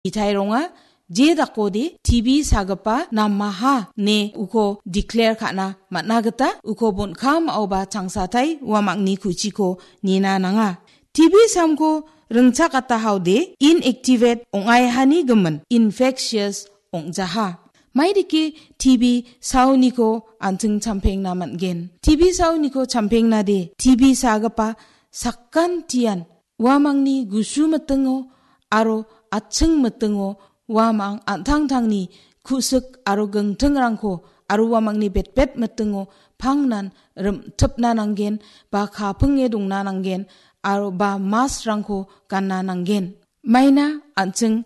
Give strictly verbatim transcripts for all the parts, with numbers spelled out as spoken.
Itai ronga, je dakode T B sagipa namaha ne uko declare ka·na man·a gita uko bon·kamaoba changsatai uamangni ku·chiko nina nanga. T B samko ringchakatahaode inactivate ong·aihani gimin infectious ong·jaha. Maidike T B saoniko an·ching champengna man·gen. T B saoniko champengnade T B sagipa sakantian uamangni gusu mitingo aro atching mitingo uamang an·tangtangni ku·sik aro gingtingrangko aro uamangni betbet mitingo pangnan rim·tipna nanggen ba kapinge dongna nanggen aro ba mask-rangko ganna nanggen. Maina an·ching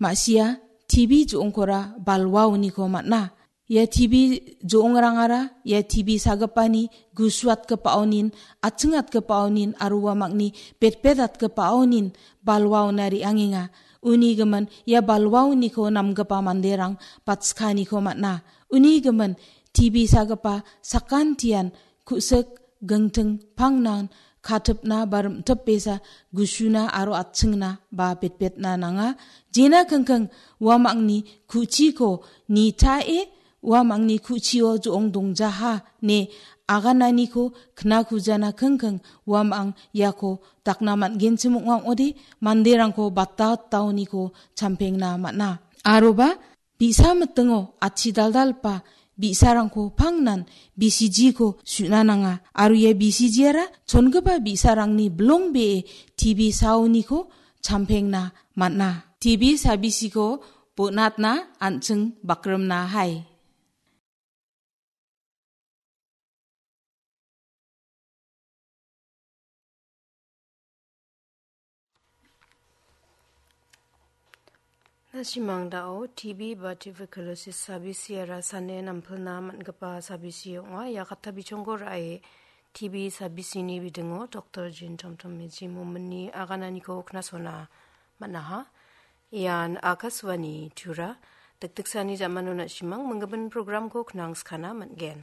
ma·sia T B jo·ongkora balwaoniko man·a. Ia T B jo·ongrangara ia T B sagipani gusuatgipaonin, atchingatgipaonin aro uamangni betbetatgipaonin balwaona re·angenga. Uni gimin ia balwaoniko namgipa manderang batskaniko man·a. Uni gimin T B sagipa sakantian ku·sik gingting pangnan katipna ba rim·tipbesa gusuna aro atchingna ba betbetna nanga. Jena kingking uamangni ku·chiko nitae uamangni ku·chio jo·ong dongjaha ne agananiko knakujana kingking uamang iako dakna man·genchim ong·a ong·ode manderangko bataotaoniko champengna man·a. Aroba bi·sa mitingo atchi daldalgipa bi·sarangko pangnan B C G-ko su·na nanga. Aro ia B C G-ara chongipa bi·sarangni bilongbee T B saoniko champengna man·a. T B sabisiko bonatna an·ching bakrimna hai. Na·simang da·o T B ba tuberculosis sabisiara sane nampilna man·gipa sabisi ong·a. Ia kata bichongko ra·e T B sabisini bidingo Doktor Jin Tomtom Meji mominni agananiko knasona man·aha. Ian Akashvani Tura, dikdiksani jamano na·simang minggimin programko knangskana man·gen.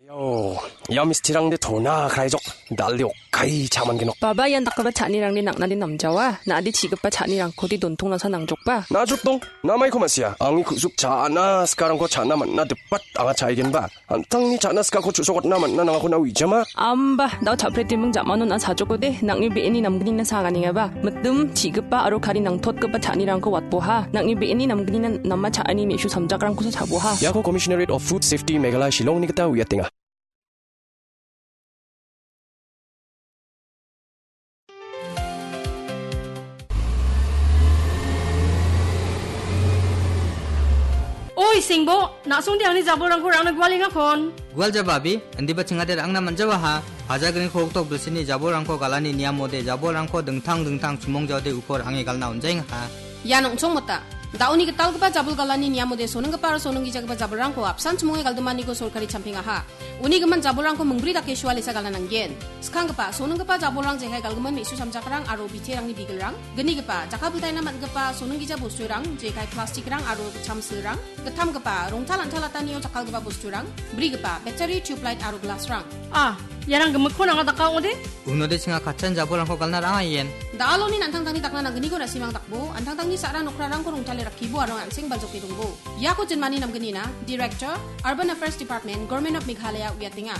Ayo, ia mistirangde tona kraijok, dalde okkai cha·mangenok. Baba, ian dakgipa cha·anirangde nang·nade namjawa, na·ade chi·gipa cha·nirangkode dontongnasa nangjokba. Najrotdong, namaiko ma·sia, angni ku·suk cha·na sikarangko cha·na man·na dipat anga cha·aigenba. An·tangni cha·na sikako chu·sokatna man·na nangako na uijama? Amba, dao cha·pretiming jamano na sajokode, nang·ni be·eni namgnina saganengaba. Mitim, chi·gipa aro kari nangtotgipa cha·anirangko watboha. Nang·ni be·eni namgnina nama cha·ani me·su samjakrangkosa chaboha. Iako Commissionerate of Food Safety Meghalaya Shillongni gita uiatenga. Oi, Sengbo, na·songde angni jabolrangko rangna gualengakon. Gual jaba, abi, indiba chingade rangna manjawaha. Hajagriko hoktok bilsini jabolrangko galani niamode jabolrangko dingtang dingtang chimong jaode uko range galna onjaengaha. Ian ong·chongmota. Da·oni gitalgipa jabol galani niamode sonenggipa aro sonenggijagipa jabolrangko apsan chimonge galdimaniko sorkari champengaha. Uni gimin jabolrangko mingbri dake sualesa galna nanggen. Skanggipa, sonenggipa jabolrang jekai galgimin me·su samjakrang aro biterangni bigilrang. Gnigipa, jakkalbiltaina man·gipa sonenggija bosturang, jekai plastikrang aro chamsilrang. Gittamgipa, rongtal an·talatanio jakkalgipa bosturang. Brigipa, battery, tubelight aro glassrang. Ah, iarang gimikkon anga daka ong·ode? Unode chinga katchan jabolrangko galna rang·a ien. Da·aloni an·tangtangni dakna nanggniko na·simang dakbo, an·tangtangni sa·ra nokrarangko rongtale rakkibo aro an·seng baljoke dongbo. Iako jinmani namgnina, Director, Urban Affairs Department, Government of Meghalaya uiatenga.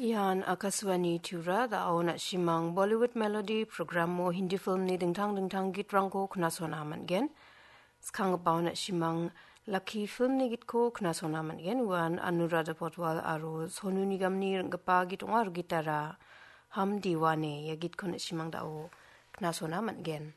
Ian Akashvani Tura, da·o na·simang Bollywood Melody programo Hindi filmni dingtang dingtang gitrangko knasona man·gen. Skanggipao na·simang Lucky filmni gitko knasona man·gen. Uan Anuradha Paudwal aro Sonu Nigamni ring·gipa git ong·a aro gitara Hum Deewane ia gitko na·simang da·o knasona man·gen.